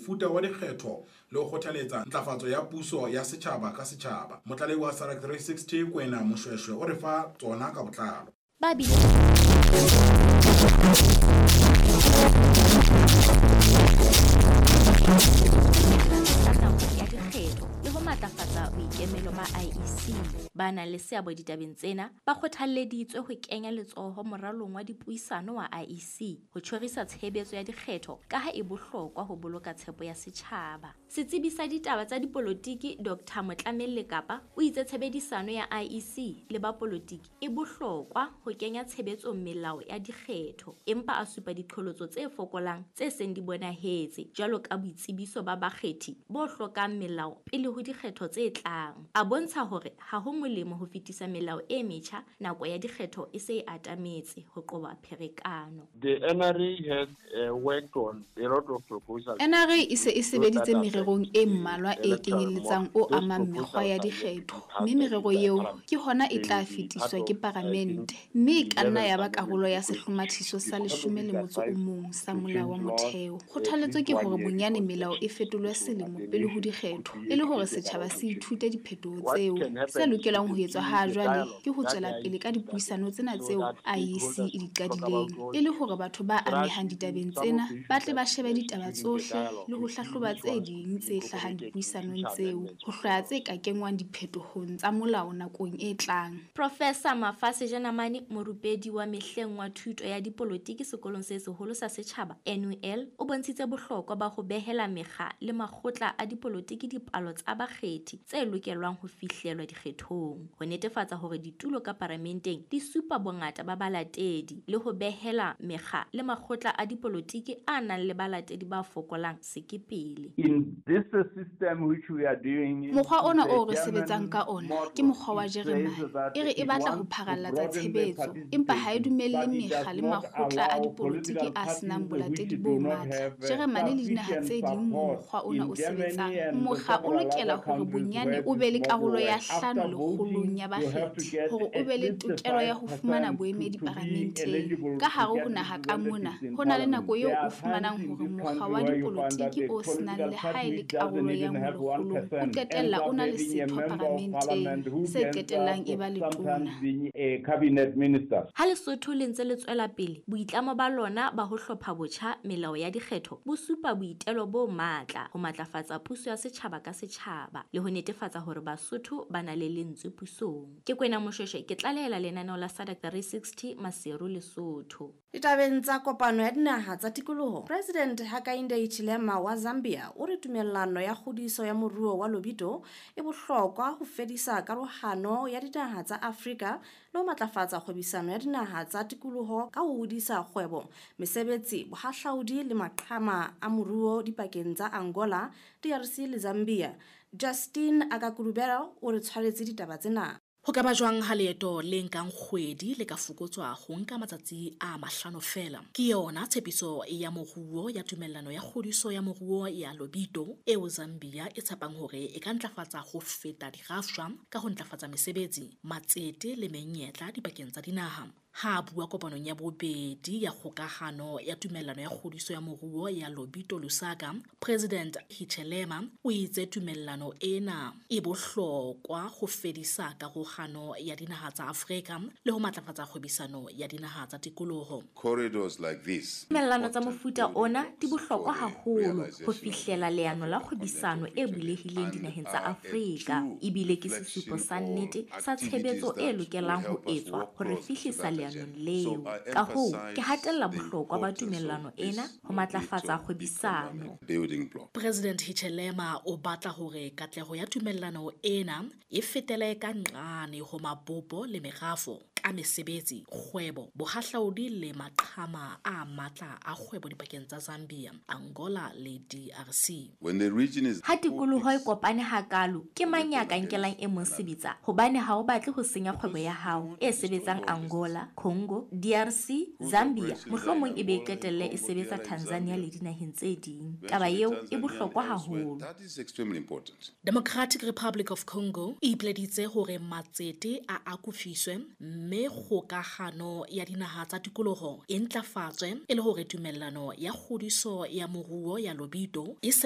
mofuta wa dikgetho le ho kgothaletsa ntlafatso ya puso ya setjhaba ka setjhaba. Motlalehi wa SADC 360 Kwena Moshweshwe o re fa tsona ka botlalo. Ba bile ya dikgetho le ho matlafatsa boikemelo ba IEC. Ba nang le seabo ditabeng tsena ba kgothalleditswe ho kenya letsoho moralong wa dipuisano wa IEC ho tjhorisa tshebetso ya dikgetho ka ha e bohlokwa ho boloka tshepo ya setjhaba. Setsebi sa ditaba tsa dipolotiki Dr. Motlamelle Kapa o itse tshebedisano ya IEC le ba polotiki e bohlokwa ho kenya tshebetsong melao ya dikgetho, empa a supa diqholotso tse fokolang tse seng di bonahetse jwalo ka boitsebiso ba bakgethi bo hlokang melao pele ho dikgetho tse tlang. A bontsha hore ha ho molemo ho fetisa melao e metjha nako ya dikgetho e se e atametse ho qoba pherekano. The NRA has worked on a lot of proposals. NRA e se e sebeditse mererong e mmalwa e kenyelletsang o amang mekgwa ya dikgetho, mme merero eo ke hona e tla fetiswa ke Paramente, mme e ka nna ya ba karolo ya sehlomathiso sa 11 sa Molao wa Motheo. Kgothaletso ke hore bonyane melao e fetolwe selemo pele ho dikgetho e le hore setjhaba se ithute diphetoho tseo. Se lokelang ho etswa ha jwale ke ho tswela pele ka dipuisano tsena tseo IEC e di qadileng, e le hore batho ba amehang ditabeng tsena ba tle ba shebe ditaba tsohle le ho hlahloba tse ding tse hlahang dipuisanong tseo, ho hlwaya tse ka kenngwang diphetohong tsa molao nakong e tlang. Professor Mafase Jenamane, morupedi wa mehleng wa thuto ya dipolotiki sekolong se seholo sa setjhaba NUL, o bontshitse bohlokwa ba ho behela mekga le makgotla a dipolotiki dipalo tsa bakgethi tse lokelwang ho fihlelwa dikgethong, ho netefatsa hore ditulo ka paramenteng di supa bongata ba balatedi le ho behela mekga le makgotla a dipolotiki a nang le balatedi ba fokolang sekepele. In this system which we are doing, mokgwa ona o re sebetsang ka ona ke mokgwa wa Jeremane. E re e batla ho pharallatsa tshebetso, empa ha e dumelle mekga le makgotla a dipolotiki a senang bolatedi bo matla. Jeremane le dinaha tse ding moo mokgwa ona o sebetsang, mokga o lokela hore bonyane o be le karolo ya 5 lekgolong ya bakgethi hore o be le tokelo ya ho fumana boemedi paramenteng. Ka hare ho naha ka mona, ho na le nako eo o fumanang hore mokga wa dipolotiki o senang le ha e le karolo ya 1 lekgolong o qetella o na le setho paramenteng se qetellang e ba letona. Ha Lesotho le ntse le tswela pele, boitlamo ba lona ba ho hlopha botjha melao ya dikgetho bo supa boitelo bo matla ho matlafatsa puso ya setjhaba ka setjhaba le ho netefatsa hore Basotho ba na le lentswe pusong. Ke Kwena Moshweshwe, ke tlalehela lenaneo la SADC 360 Maseru, Lesotho. Ditabeng tsa kopano ya dinaha tsa tikoloho, President Hakainde Hichilema wa Zambia o re tumellano ya kgodiso ya moruo wa Lobito e bohlokwa ho fedisa karohano ya dinaha tsa Afrika le ho matlafatsa kgwebisano ya dinaha tsa tikoloho ka ho hodisa kgwebo, mesebetsi, bohahlaudi le maqhama a moruo dipakeng tsa Angola, DRC le Zambia. Justin Akakulubera o re tshwaretse ditaba tsena. Ho ka ba jwang ha leeto le nkang kgwedi le ka fokotswa ho nka matsatsi a 5 feela? Ke yona tshepiso ya moruo ya tumellano ya kgodiso ya moruo ya Lobito eo Zambia e tshepang hore e ka ntlafatsa ho feta dirafshwa ka ho ntlafatsa mesebetsi, matsete le menyetla dipakeng tsa dinaha. Ha a bua kopanong ya bobedi ya kgokahano ya tumellano ya kgodiso ya moruo ya Lobito Lusaka, President Hichilema o itse tumellano ena e bohlokwa ho fedisa karohano ya dinaha tsa Afrika le ho matlafatsa kgwebisano ya dinaha tsa tikoloho. Corridors like this. Tumellano tsa mofuta ona di bohlokwa haholo ho fihlela leano la kgwebisano e bulehileng dinaheng tsa Afrika, ebile ke sesupo sa nnete sa tshebetso e lokelang ho etswa hore fihlisa leanong leo. Ka hoo, ke hatella bohlokwa ba tumellano ena ho matlafatsa kgwebisano. President Hichilema o batla hore katleho ya tumellano ena e fetele ka nqane ho mabopo le merafo ka mesebetsi, kgwebo, bohahlaudi le maqhama a matla a kgwebo dipakeng tsa Zambia, Angola le DRC. When the region is Ha tikoloho e kopane hakalo, ke mang ya ka nkelang e mong sebetsa? Hobane ha o batle ho senya kgwebo ya hao e sebetsang Angola, Congo, DRC, Zambia, mohlomong e be e qetelle e sebetsa Tanzania le dinaheng tse ding. Taba eo e bohlokwa haholo. That is extremely important. Democratic Republic of Congo e ipileditse hore matsete a akofiswe mme kgokahano ya dinaha tsa tikoloho e ntlafatswe e le hore tumellano ya kgodiso ya moruo ya Lobito e sebetse